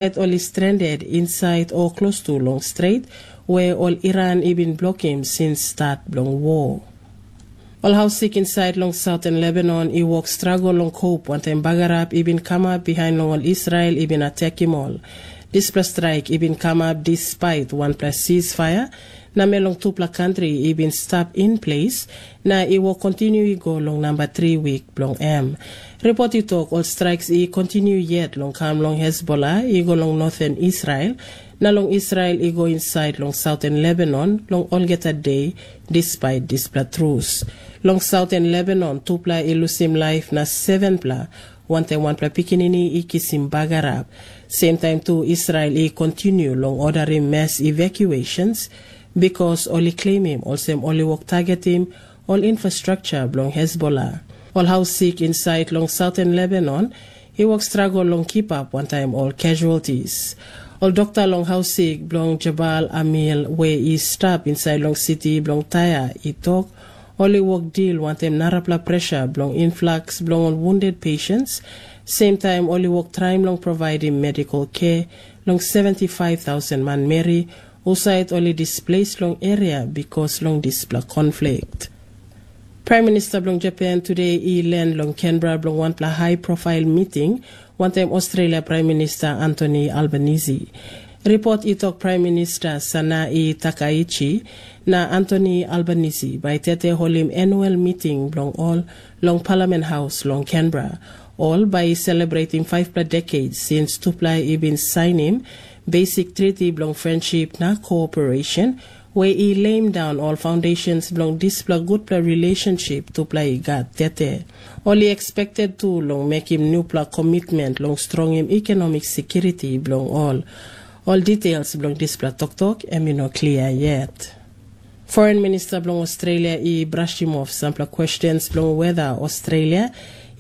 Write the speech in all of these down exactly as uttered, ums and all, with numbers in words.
Ol i stranded insait o klostu long stret, we ol Iran i bin blokim since stat bilong wo. Ol haus sik insait long Southern Lebanon i wok stragol long kop wantaim bagarap i bin kamap bihain long ol Israel i bin atekim ol. Dispela straik i bin kamap dispait wanpela ceasefire, na me long tupela kantri i bin stap in ples, na i wok kontinu i go long namba tri wik bilong em. Ripot i tok ol straiks i kontinu yet long kam long Hezbollah i go long noten Israel, na long Israel i go insait long sauten Lebanon long olgeta de, dispait dispela trus. Long sauten Lebanon tupela i lusim laip na sevenpela, wantaim wanpela pikinini i kisim bagarap. Semtaim tu Israel i kontinu long odarim mass evacuations, bikas ol i klemim olsem ol i wok targetim ol infrastruktur bilong Hezbollah. Ol haus sik insait long sauten Lebanon i wok stragol long kipap wantaim ol casualties. Ol dokta long haus sik bilong Jabal Amil we i stap insait long siti bilong Taia i tok, ol i wok dil wantaim narapela pressure bilong influx bilong ol wounded patients, semtaim ol i wok traim long providim medical care long seventy five thousand manmeri husat ol i displeis long eria bikas long dispela konflik. Praim Minista bilong Japan tude i len long Canberra bilong wanpela high profile meeting wantaim Australia Praim Minista Anthony Albanese. Ripot i tok Praim Minista Sanae Takaichi na Anthony Albanese bai tete holim annual meeting bilong ol long Parliament House long Canberra. Ol bai i celebrating fivepela decades since tupela i bin sainim Basic Treaty bilong Friendship na Cooperation, we i leim daun ol foundations bilong dispela gutpela relationship tupela i gat tete. Ol i expected tu long mekim nupela commitment long strongim economic security bilong ol. Ol details bilong dispela toktok em i no klia yet. Foreign Minister bilong Australia i brushim off sampela questions bilong whether Australia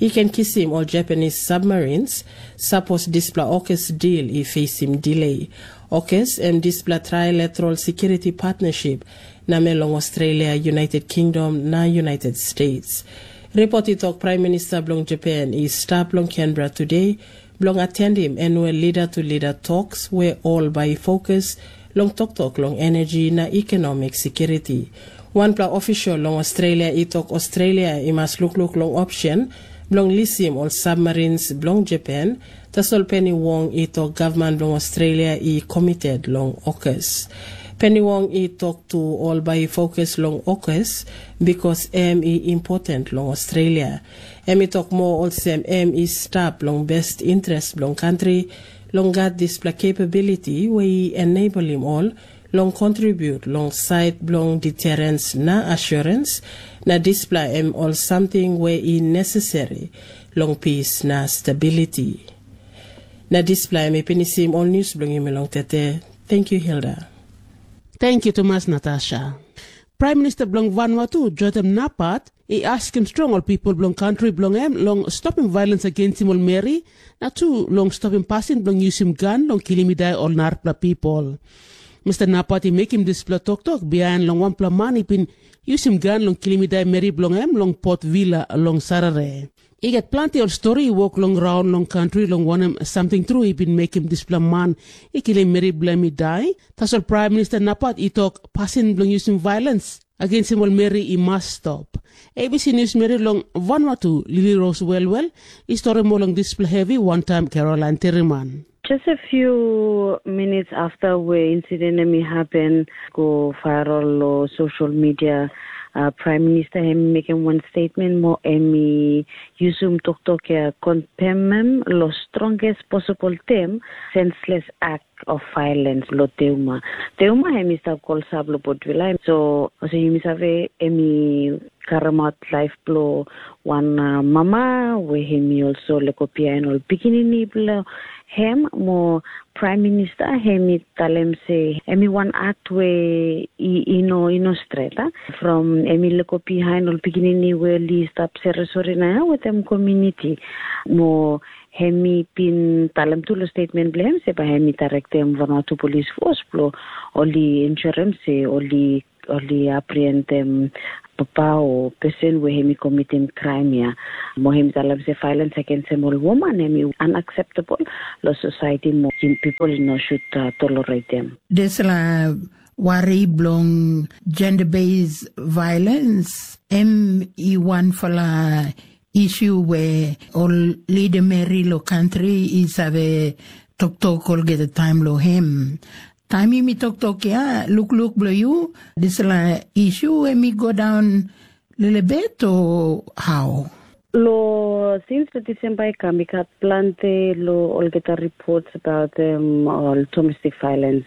i ken kisim ol Japanese submarines, sapos dispela AUKUS deal i facing delay. AUKUS em dispela trilateral security partnership na me long Australia, United Kingdom na United States. Ripot i tok Praim Minista bilong Japan i stap long Canberra today bilong atendim annual leader to leader talks we ol bai i fokus long toktok long energy na economic security. Wanpela official long Australia i tok Australia i mas lukluk long option bilong lisim ol submarines bilong Japan, tasol Penny Wong i tok gavman bilong Australia i committed long AUKUS. Penny Wong i tok tu ol bai i fokus long AUKUS, bikas em i important long Australia. Em i tok moa olsem em i stap long best interest bilong kantri long gat dispela capability we i enablim ol long contribute long sait bilong deterrence na assurance, na dispela em ol samting we i necessary long peace na stability. Na dispela em i pinisim ol news bilong yumi long tete. Thank you, Hilda. Thank you tumas, Natasha. Praim Minista bilong Vanuatu, Jotem Napat, i askim strong ol pipel bilong kantri bilong em long stopim violens agensim ol meri, na tu long stopim pasin bilong yusim gan long kilim i dai ol narapela pipel. Mista Napat i mekim dispela toktok bihain long wanpela man i bin yusim gan long kilim i dai meri bilong em long Port Vila long Sarere. I gat planti ol stori i wok long raun long kantri long wanem samting tru i bin mekim dispela man i kilim meri bilong em i dai. Tasol Praim Minista Napat i tok pasin bilong yusim violens agensim ol meri i mas stop. A B C News meri long Vanuatu, Lili Ros Welwel, i stori moa long dispela hevi wantaim Caroline Teriman. Just a few minutes after we incident em i happen, go viral lo social media, uh, Prime Minister em i mekim wan statement mo em i yusum toktok ya, condemn em lo strongest possible term, senseless act of violence lo Teuma. Teuma em i stap kolsap lo Potvila. So, also yumi save em i karamaut laip bilong wan, uh, mama, we em i also leko bihain ol pikinini bilong em, mo Prime Minister em i talem se em i wan act we i, i no, i no stret, a? From em i leko bihain ol pikinini we ol i stap sere sori na wetem community. Mo em i bin talem tu lo statement bilong em se bai em i directem Vanuatu Police Force bilong ol i ensure se ol i ol i aprientim papa o pesen we hem i komitim kraim ya. Mo hem i talem se violence against em ol woman hem i unacceptable lo society mo people i no should uh, tolerate them. Dispela wari bilong gender-based violence em i wanpela isu we ol lidameri lo kantri i save toktok olgeta taim lo hem. Taim yumi toktok ya, lukluk bilong yu, dispela isu em i go daun lelebet o hau? Lo since lo December i kam, i gat planti lo olgeta reports about um, all domestic violence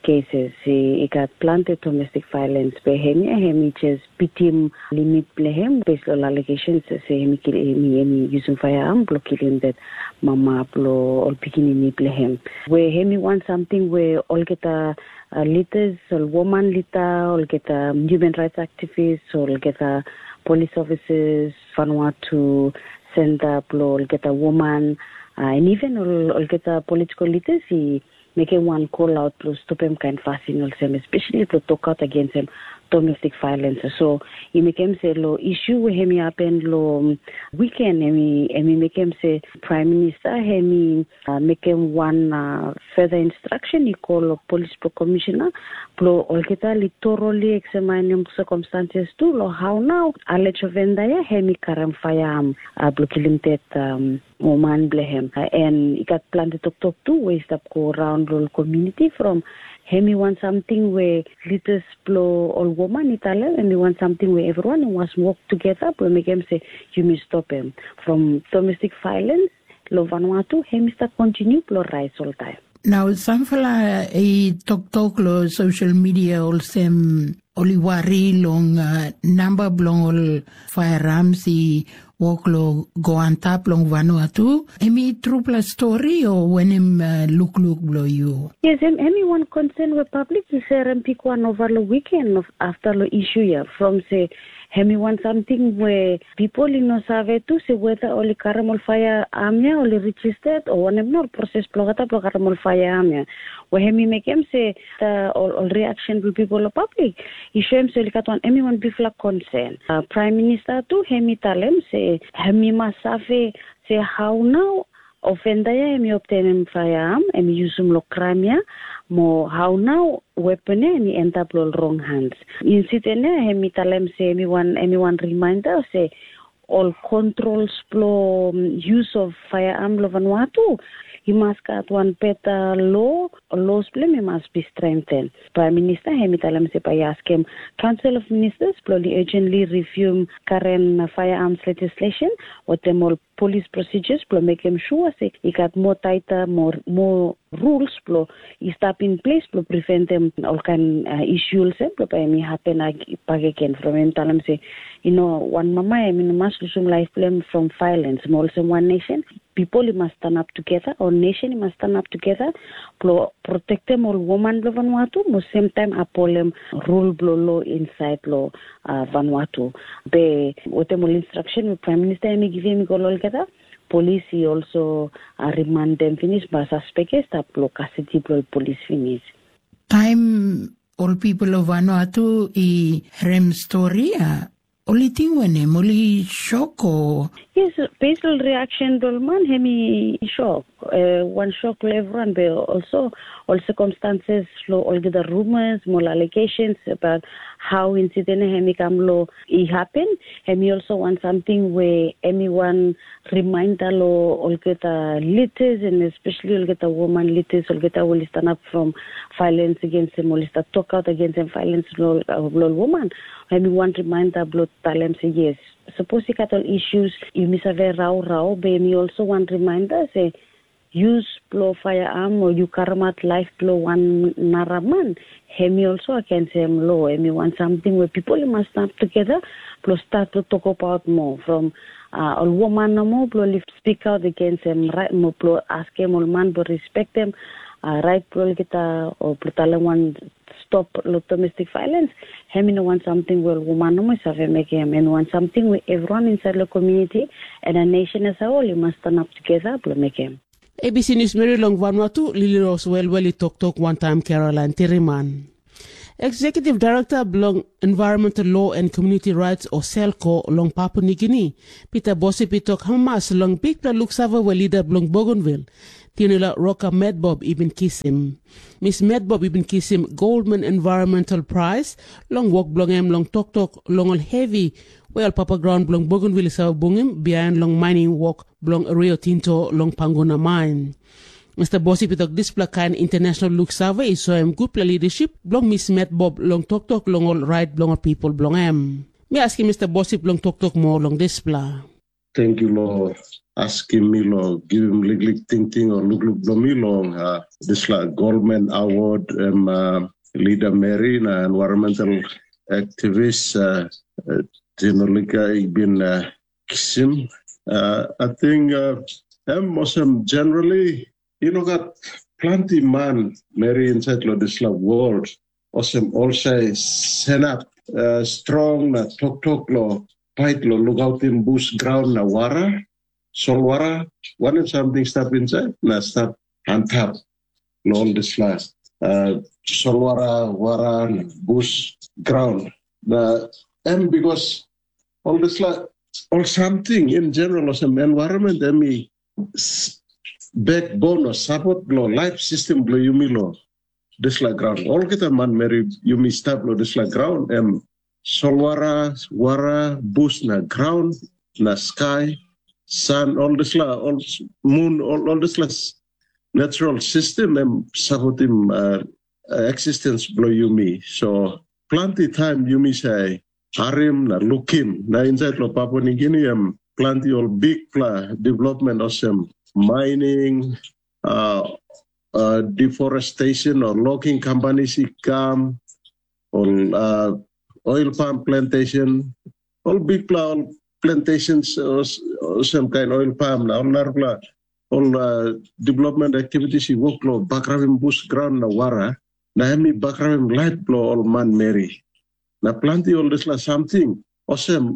cases. I, i gat planti domestic violence, be hem ya hem i just bitim limit bilong hem based on allegations se hem i kilim hem i using firearm bilong kilim that mama bilong ol pikinini bilong hem. We hem i want something we olgeta uh, leaders, ol woman leader, olgeta human rights activists, olgeta police officers, Vanuatu center bilong olgeta woman, uh, and even ol, olgeta political leaders i mekim wan call out lo stopim kain fasin olsem, especially lo tokaut against em domestic violence. So i mekim se lo issue we hem i happen lo weekend em i em i mekim se Prime Minister hem i uh, mekim wan uh, further instruction i call lo police pro commissioner lo olgeta li thoroughly examine circumstances tu lo how now alleged offender ya hem i karam firearm uh, blo kilim dead um, o man bilong hem. Uh, and i gat planti toktok tu we i stap go around long community from hem i want something we leaders bilong ol woman i talem em i want something we everyone i was work together bilong mekim se yumi stop em from domestic violence long Vanuatu hem i stap continue bilong rise all time. Nau sampela i toktok long social media olsem ol i wari long uh, namba bilong ol firearms i wok long go antap long Vanuatu. Em i trupela stori o wanem uh, lukluk bilong yu? Yes, em, em i wan concern we public i serem pik wan ova long weekend of after long issue ya from se em i wan samting we people i no save tu se whether ol i karim ol fire arm ya ol i registered o wanem nor proses bilong ata bilong karim ol fire arm ya. We em i mekim se ol, ol reaction bilong people o public i show em se ol i gat wan em i wan bikpela concern. Uh, Prime Minister tu em i talem se em i mas save se how now offender ya em i obtenim firearm em i yusim long kraim ya, mo how now weapon ya em i endap long wrong hands. Incident ya em i talem se em i wan em i wan reminder se ol controls bilong use of firearm long Vanuatu i mas gat wan beta lo, laws bilong em i mas be strengthen. Prime Minister em i talem se bai i askim Council of Ministers bilong ol i urgently review current firearms legislation, watem ol police procedures bilong mekim sure se i gat more tighter, more, more rules bilong i stap in place bilong preventem ol kain uh, issue olsem bilong bai em i happen back again from em talem se you know wan mama em i no mas lusim laif bilong em from violence mo olsem wan nation people i mas stand up together or nation i mas stand up together bilong protectem ol woman bilong Vanuatu mo same time upholdem rule bilong law inside lo uh, Vanuatu. Be watem ol instruction we Prime Minister em i givim i go olgeta, police i also uh, remand dem finish ba suspect i stap lo custody bilong police finish. Taim ol people of Vanuatu i rem story, uh, ol i ting wanem, ol i shock o? Yes, based on reaction bilong man, em i shock. Uh, one shock lo everyone, but also all circumstances lo olgeta rumors, more allegations about how incident em i kam lo i happen. Em i also want something where em i want reminder lo olgeta leaders and especially olgeta woman leaders, olgeta will stand up from violence against them, will start talk out against them, violence lo, lo woman. Em i want reminder lo talem se yes, suppose i got all issues, you miss a very rau rau, but em i also want reminder se use bilong firearm o yu karamat laif bilong wan nara man, em i also against em lo. Em i wan samting we pipel i mas stap tugeta bilong stat long tokabaut moa from uh, ol woman nomo bilong lif spik aut against em rait mo bilong askim ol man bilong respektem uh, rait bilong olgeta o bilong talem wan stop lo domestic violence. Em i no wan samting we ol woman nomo i save mekim, em i wan samting we everyone inside lo community and a nation as a whole i mas stand up together bilong mekim. A B C News Mary long Vanuatu, Lily Rose Wellwell i toktok wantaim Caroline Tiriman. Executive Director bilong Environmental Law and Community Rights o SELCO long Papua Nigini, Peter Bosip i tok hamas long bikpela luksave we lida bilong Bougainville, Tinula Roka Medbob i bin kisim. Miss Medbob i bin kisim Goldman Environmental Prize long wok bilong em long toktok long ol hevi we ol papa graun bilong Bougainville i save bungim bihain long mining wok bilong Rio Tinto long Panguna main. Mister Bosip i tok dispela kain international luksave i soim gutpela lidaship bilong Miss Medbob long toktok long ol rait bilong ol pipel bilong em. Mi askim Mister Bosip long toktok moa long dispela. Thank you lo askim mi lo givim liklik tingting o lukluk bilong mi long uh, dispela Goldman Award em uh, leader Mary na environmental activist uh, uh, Tinolika i bin uh, kisim. Uh, I think uh, em osem generally you know got plenty man Mary inside lo dispela world osem olsai senap uh, strong na toktok lo pait lo lukautim bus graun na wara, solwara, wanem samting stap insait na stap antap lo ol dispela uh, solwara, wara, na bus graun. Na em bikos ol dispela ol samting in general olsem environment em i backbone o support bilong life system bilong yumi lo dispela graun. Olgeta manmeri yumi stap lo dispela graun em solwara, wara, bus na graun na skai, san, ol dispela ol mun, ol, ol dispela natural system em supportim uh, existence bilong yumi. So planti taim yumi sai harim na lukim na insait lo Papua Nigini em planti ol bikpela development olsem mining, uh, uh, deforestation o logging companies i kam, ol uh, oil palm plantation, ol bikpela ol plantations olsem kain oil palm na ol narapela ol uh, development activities i wok long bagarapim bus graun na wara, na em i bagarapim laip bilong ol manmeri. Na planti ol dispela samting olsem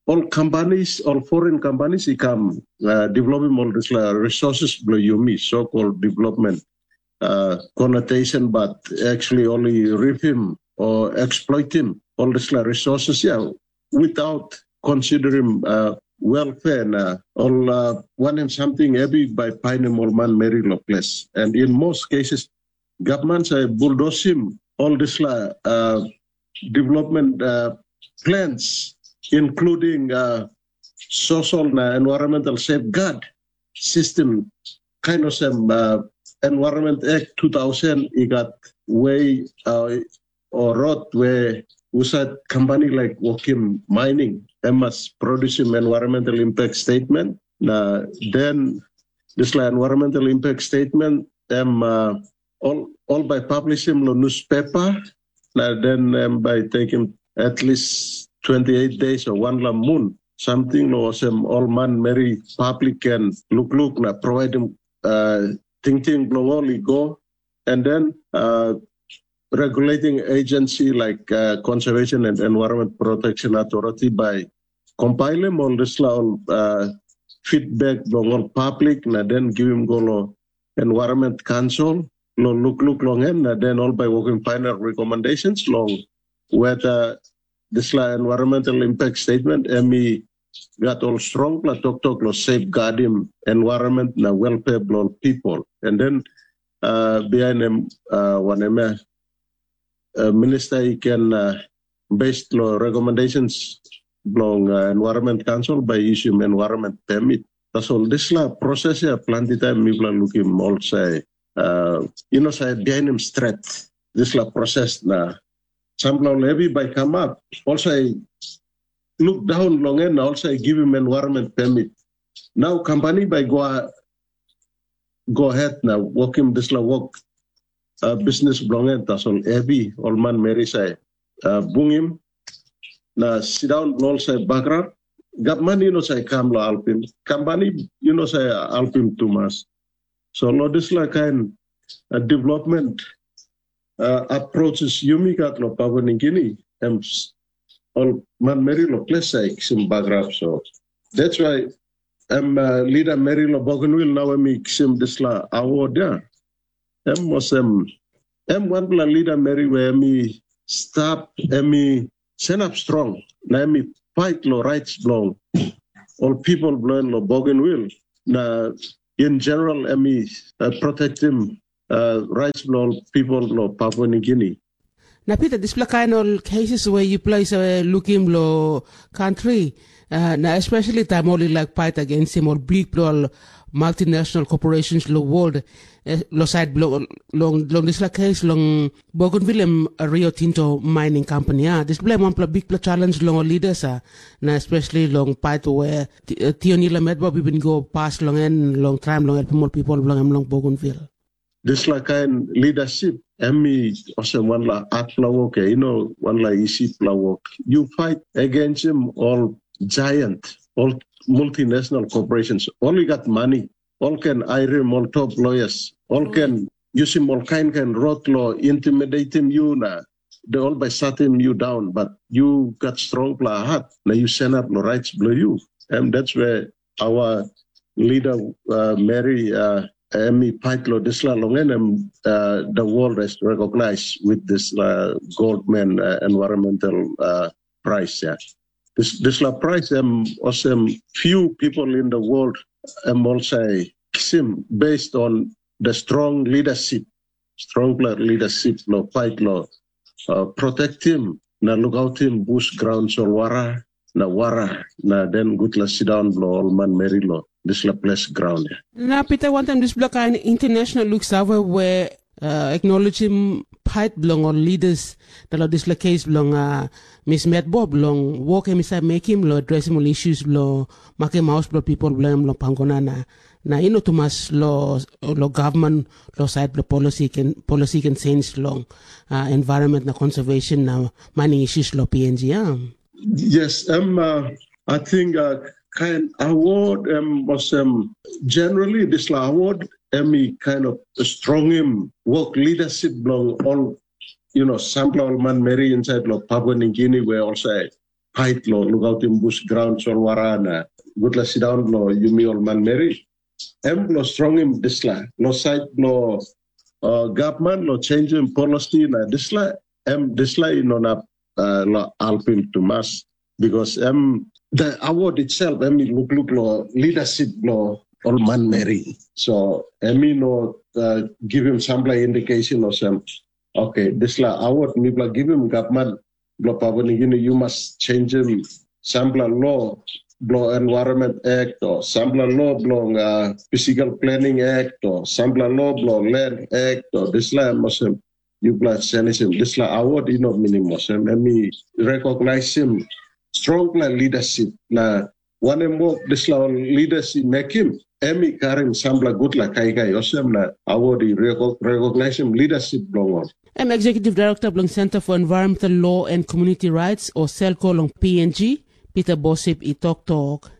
ol companies, ol foreign companies i kam uh, developim ol dispela resources bilong yumi, so-called development uh, connotation, but actually only rip him or exploit him, all dispela resources, yeah, without considering uh, welfare na ol uh, wanem samting heavy by painim ol manmeri lo ples. And in most cases, government sa bulldosim all dispela uh, development uh, plans, including uh, social na environmental safeguard system, kind of same uh, Environment Act two thousand i got way uh, or road where usat company like Wokim Mining, they must produce an environmental impact statement. Na then this like environmental impact statement, em uh, all all by publish him lo newspaper, na then em by take him at least twenty-eight days or one la moon, something lo sem all man meri public can look look na provide him uh, thinking bilong ol i go, and then uh, regulating agency like uh, Conservation and Environment Protection Authority by compilim ol dispela ol uh, feedback bilong ol public na then givim go lo Environment Council lo lukluk long em, na then ol by working final recommendations long whether dispela environmental impact statement em i gat ol strongpela toktok lo safeguardim environment na welfare bilong ol people. And then uh, behind em uh, wanem ya uh, minister i can uh, based lo recommendations bilong uh, Environment Council by issuing environment permit. Tasol dispela proses ya planti taim mipela lukim olsem uh, you know say behind him stret dispela proses na sampela ol heavy by come up olsem look down long en na olsem givim environment permit. Nau company by go go ahead na working dispela work uh, business bilong en tasol heavy ol man meri sai uh, bungim na sit down long ol sai background. Gavman you know sai kam lo alpim, company you know sai alpim tumas. So lo dispela kain uh, development uh, approaches yumi gat lo Papua New Guinea, em ol manmeri lo ples sai kisim bagarap. So that's why em uh, leader meri lo Bougainville nau em i kisim dispela award ya. Em olsem em wanpela leader meri we em i stap em i senap strong, na em i pait long rait bilong ol pipel bilong en long Bougainville. Na in general em i uh, protektim uh, rait bilong ol pipel bilong Papua New Guinea. Na Pita, dispela kain ol cases we yupela i save lukim long kantri, uh, na especially taim ol i laik pait agensim ol bikpela ol multinational corporations long world, eh, long sait bilong long, long dispela case long Bougainville em Rio Tinto Mining Company, ah, dispela em wanpela bikpela challenge long ol leaders, ah, na especially long pait we Ti- eh, Tionila Metbop i bin go pas long en long traim long helpim ol pipel bilong em long Bougainville. Dispela kain leadership em i olsem wanla hatpela wok, eh, you know, wanla isipela wok. You fight against him, all giant, all multinational corporations, all you got money, all can hire him, all top lawyers, all can use him, all kind kind road law, intimidating you na they all by shutting you down, but you got strong pla heart, na you stand up the rights below you. And that's where our leader, uh, Mary, uh, Emi Paitlo Disla Longenem, uh, the world is recognized with this uh, Goldman uh, environmental uh, prize. Yeah. This, this la prize, um, also few people in the world, um, also sim based on the strong leadership, strong leadership, lo fight lo uh, protect him, na look out him bush ground solwara, na wara, na then good la sit down lo all man meri lo this la place ground. Yeah. Na Pita, wantaim dispela kain international luksave we uh, acknowledgim pait bilong ol leaders na long dispela kes bilong uh, Miss Metbop long wok em i save mekim long adresim ol issues bilong makim haus bilong pipel bilong em long Panguna na na i no tumas lo lo gavman lo sait bilong policy ken policy ken change long uh, environment na conservation na mining issues lo P N G. Yeah. Yes, um, uh, I think uh, kind award um, was um, generally this la award um, kind of strong him work leadership belong all you know sampla all man meri inside lo Papua New Guinea where also fight lo look out in bush ground solwara na good la sit down lo yumi all man meri em lo strong him this la lo side lo uh, government lo change him policy na this la em this la you know na uh, lo alpim too much because em the award itself em i look look lo leadership lo all man meri so em i no uh, give him sampla indication or some okay this la award mi bla give him government blo Papua New Guinea you must change him sampla law blo Environment Act or sampla law blo uh, Physical Planning Act or sampla law blo Land Act or this la em olsem you bla change him this la award you know meaning olsem em i recognize him strong la leadership na wanem wok dispela ol leaders i mekim em i karim sampela gutpela kaikai olsem na award i recognisim leadership bilong ol. Em Executive Director bilong Center for Environmental Law and Community Rights o selko long P N G, Peter Bosip i toktok.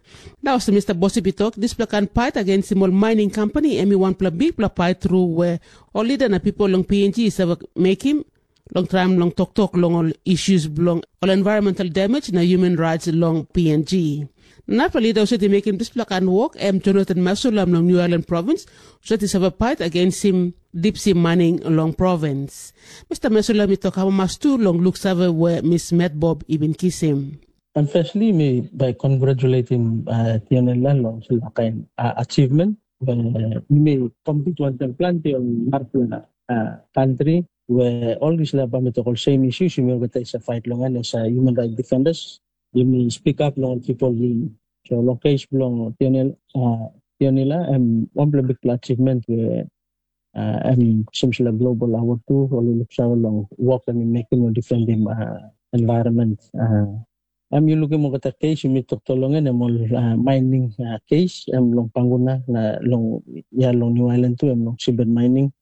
Na olsem Mr. Bosip i tok, dispela kain pait agensim ol mining company em i wanpela bikpela pait tru we ol leader na pipel long P N G i save mekim long traim long toktok long ol issues bilong ol environmental damage na human rights long P N G. Narapela lida husat i mekim dispela kain wok em Jonathan Masula long New Ireland Province, husat i save pait agensim dipsi maning long provins. Mr. Masula mi tok amamas tu long luksave we Miss Metbob i bin kisim. And firstly, mi by congratulating uh, Tionela long sila kain uh, achievement. When uh, mi compete wantaim planti ol narapela uh, country where all these labor mi tok ol same issues yumi olgeta isa fight long en as a human right defenders. Yumi speak up long people yumi. So long case bilong Tionel, uh, Tionela em wanpela bigpela achievement where uh, em sim sila global award tu ol i luksave long work em i mekim long defendim uh, environment. Uh, Em yu lukim olgeta kes yumi toktok long en em ol uh, mining uh, kes em long Panguna na long ya long New Island tu em long seabed mining.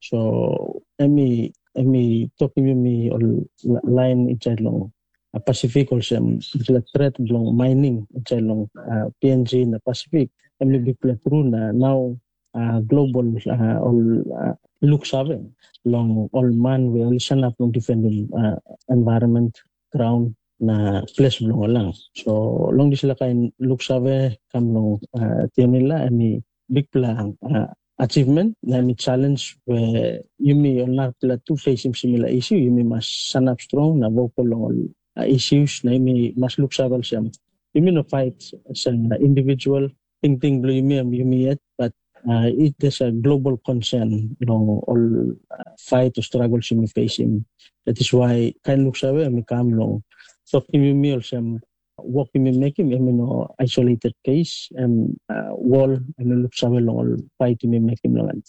So em i em i tokim yumi ol lain insait long uh, Pasifik olsem dispela tret bilong mining insait long uh, P N G na Pasifik em i bikpela tru na nau uh, global uh, ol uh, luksave long ol man we ol i sanap long defendim uh, environment graun na ples bilong ol lang. So long dispela kain luksave kam long uh, Tionila em i bikpela uh, achievement, na em i challenge we yumi ol narapela tu facing similar issue, yumi mas sanap strong na vocal long ol uh, issues, na yumi mas luksave olsem. Yumi no fight as an individual, tingting bilong yumi em yumi yet, but uh, it is a global concern long all uh, fight or struggles yumi facing. That is why kain luksave em i kam long tokim yumi olsem, wok yumi mekim em i no isolated case, em uh, wall em i luksave long ol fight yumi mekim long em.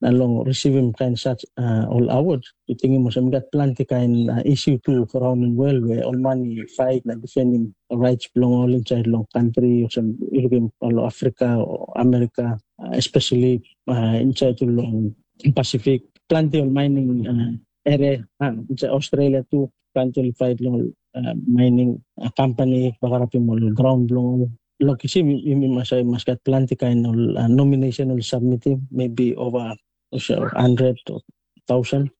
Na long receivim kain such uh, ol award, yu tingim olsem i gat planti kain uh, issue tu around in world where ol man i fight na defending rights bilong ol inside long country, olsem yu lukim ol Africa o America, uh, especially uh, inside long Pacific, planti ol mining uh, area, uh, inside Australia tu, planti ol fight long uh, mining uh, company, bagarapim ol ground bilong ol. Long kisim, yumi mas, mas gat planti kain ol uh, nomination ol submitting, maybe over hundred or thousand,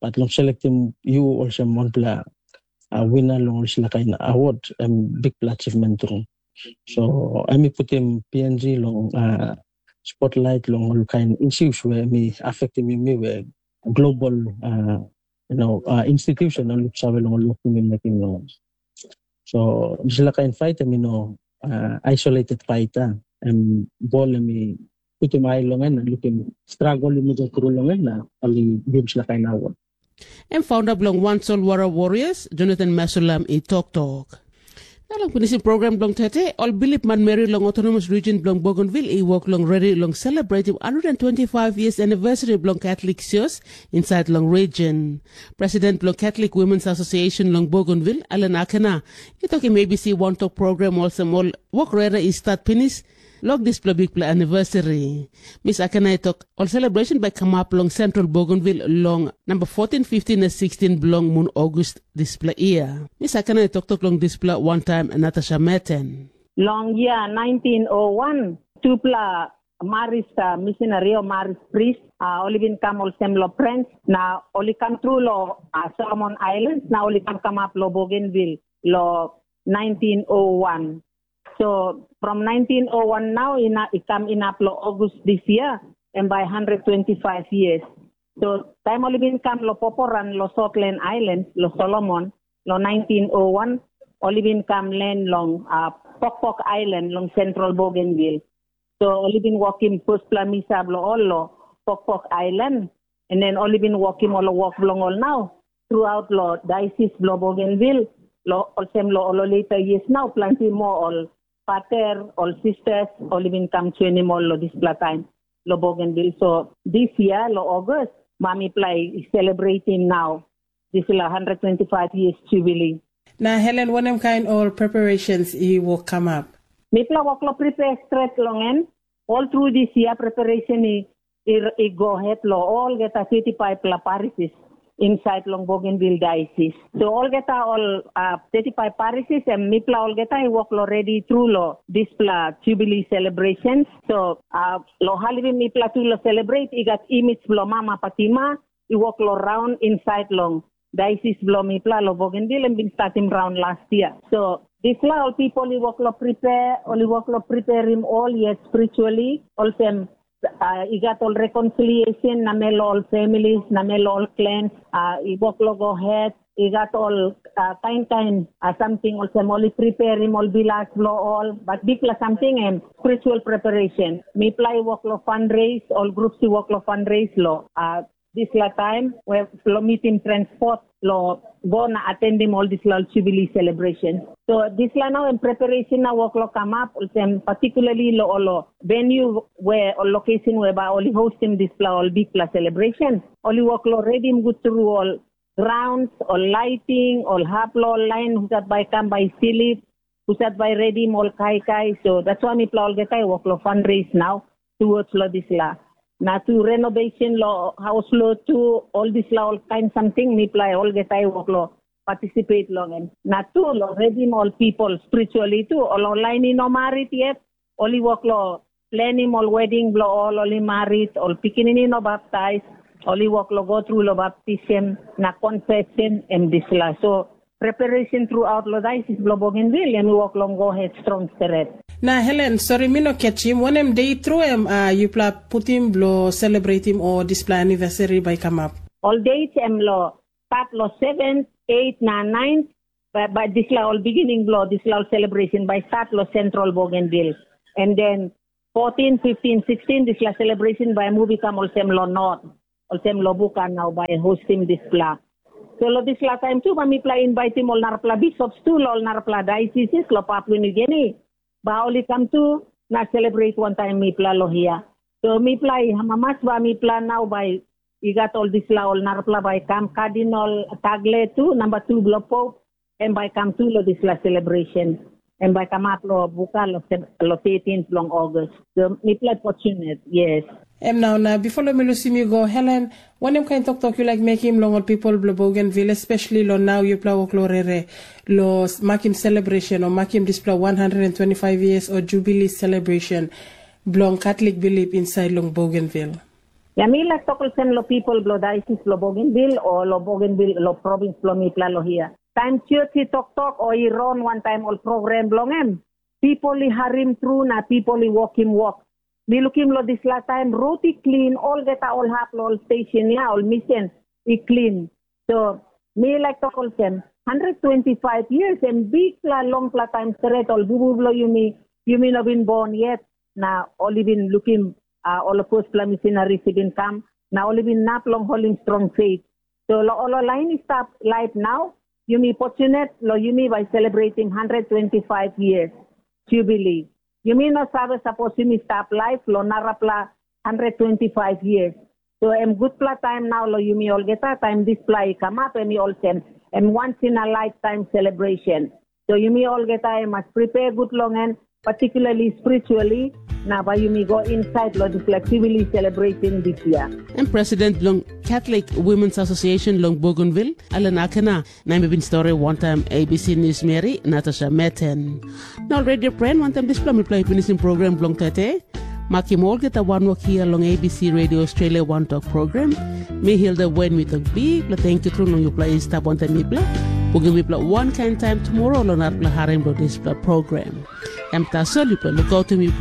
but long selectim yu olsem wanpela uh, winner long olsela kain award, em bikpela achievement tru. So em i putim P N G long uh, spotlight long ol kain issues we em i affectim yumi, we global uh, you know, uh, institution ol luksave long ol wok yumi mekim long. So dispela kain fight em i no uh, isolated fight, uh, em bol em i putim ai long en na lukim struggle yumi go through long en na ol i givim dispela kain award. Em founder bilong Wan Solwara Warriors, Jonathan Masulam, i toktok. Na long pinisim program bilong tete, ol bilip manmeri long autonomous region bilong Bougainville i wok long redi long celebrating one hundred twenty-five years anniversary bilong Catholic Sios inside long region. President bilong Catholic Women's Association long Bougainville, Ellen Akena, i tokim A B C wantok program olsem ol wok rere i start pinis long dispela bikpela anniversary. Miss Akena i tok, ol celebration bai kamap long Central Bougainville long number fourteen, fifteen na sixteen bilong mun August dispela year. Miss Akena i toktok long dispela wantaim Natasha Meten. Long year nineteen oh one, tupela Marist uh, missionary o Marist priest, uh, ol i bin kam olsem lo Prince, na ol i kam tru lo uh, Solomon Islands, na ol i kam kamap lo Bougainville lo nineteen oh one. So from nineteen oh one now ina, i kam inap lo August this year, and by one hundred twenty-five years. So taim ol i bin kam lo poporan lo Sotland Islands, lo Solomon, lo nineteen oh one, ol i bin kam len long uh, Pokpok Island long Central Bougainville. So ol i bin wokim firstpela misa bilong ol lo Pokpok Island, and then ol i bin wokim ol wok bilong ol nau throughout lo diocese bilong Bougainville, lo olsem lo ol later years nau planti moa ol pater, ol sisters, ol i bin kam joinim ol lo dispela taim lo Bougainville. So this year lo August, ma mipela i celebrating nau dispela one hundred twenty-five years jubilee. Na Helen, wanem kain ol preparations i wok kamap? Mipela wok lo prepare stret long en. All through this year preparation i, i, i go ahead lo olgeta thirty-five pela parishes inside long Bougainville Diocese. So olgeta ol uh, thirty-five parishes em mipela olgeta i wok lo ready through lo dispela Jubilee celebrations. So uh, lo halivim mipela tu lo celebrate i gat image bilong Mama Fatima i wok lo raun inside long diocese bilong mipela lo Bougainville em bin statim raun last year. So dispela ol people i wok lo prepare, ol i wok lo preparim ol yet spiritually, olsem uh, i gat ol reconciliation namel ol families, namel ol clans, uh, i wok lo go ahead, i gat ol uh, kain kain uh, something olsem ol i preparim ol bilas lo ol, but bikpela something em spiritual preparation. Mipela i wok lo fundraise, ol groups i wok lo fundraise lo uh, dispela taim we lo meeting transport lo go na atendim ol dispela jubilee celebration. So dispela nau em preparation na wok lo kamap olsem particularly lo ol venue we ol location we ba ol i hostim dispela ol bikpela celebration. Ol i wok lo redim gut tru ol grounds, ol lighting, ol hap lo ol lain husat bai kam bai slip, husat bai redim ol kaikai. So that's why mipela olgeta i wok lo fundraise nau towards lo dispela. Na tu renovation lo haus lo tu, ol dispela ol kain samting mipela olgeta i wok lo participate long em. Na tu lo redim ol people spiritually tu, ol ol lain i no marit yet, ol i wok lo planim ol wedding bilong ol, ol i marit, ol pikinini no baptais, ol i wok lo go tru lo baptism na confession em dispela. So preparation throughout lo diocese bilong Bougainville em i wok long go ahead strong stret. Na Helen, sori mi no catchim, wanem dei tru em uh, yupela putim bilong celebratim o dispela anniversary bai kamap? Ol date em lo start lo seven, eight na nine, but, but dispela ol beginning blo dispela ol celebration bai start lo Central Bougainville. And then fourteen, fifteen, sixteen dispela celebration bai move kam olsem lo North, olsem lo Buka nau bai hostim dispela. So lo dispela taim tu bai mipela invaitim ol narapela bishops tu lo ol narapela dioceses lo Papua New Guinea. Ba ol i kam tu na celebrate wantaim mipela lo hia. So mipela i amamas ba mipela nau bai i gat ol dispela ol narapela bai kam Cardinal Tagle tu, namba tu bilong Pope, em bai kam tu lo dispela celebration. Em bai kamap lo buka lo, sem- lo thirteenth bilong August. So mipela fortunate, yes. Em nau na before lo mi lusim yu go, Helen, wanem kain toktok yu laik mekim long ol pipol bilong Bougainville, especially lo nau yupela wok lo rere, lo s- makim celebration o makim dispela one hundred twenty-five years o jubilee celebration bilong Catholic belief inside long Bougainville? Ya mi laik tok olsem lo pipol bilong diosis bilong Bougainville o lo Bougainville lo provins bilong mipela lo hia. Taim sios i toktok o i ron wantaim ol program bilong em, pipol i harim tru na pipol i wokim wok. Mi lukim lo dispela taim rot i klin, olgeta ol hap lo ol station ya, ol misen i klin. So mi laik tok olsem, hundred twenty-five years em bikpela longpela taim stret ol bubu bilong yumi, yumi no bin bon yet, na ol i bin lukim uh, ol firstpela missionaries i bin kam, na ol i bin nap long holim strong faith. So lo ol lain i stap laip nau, yumi fortunate lo yumi bai celebrating hundred twenty-five years jubilee. Yumi no save sapos yumi stap laip lo narapela hundred twenty-five years. So em gutpela taim nau lo yumi olgeta, taim dispela i kamap em i olsem, em once in a lifetime celebration. So yumi olgeta em mas prepare gut long en, particularly spiritually, na bai yumi go inside lo dispela jubilee celebration this year. Em president bilong Catholic Women's Association long Bougainville, Ellen Akena, na em i bin stori wantaim A B C News Mary, Natasha Meten. Na ol radio pren, wantaim dispela mipela i pinisim program bilong tete. Makim olgeta wanwok hia long A B C Radio Australia Wantok program. Mi Hilda Wen mi tok bikpela tenkyu tru long yupela i stap wantaim mipela. Bungim mipela wankain taim tumora long narapela harim bilong dispela program. Em tasol yupela lukautim yupela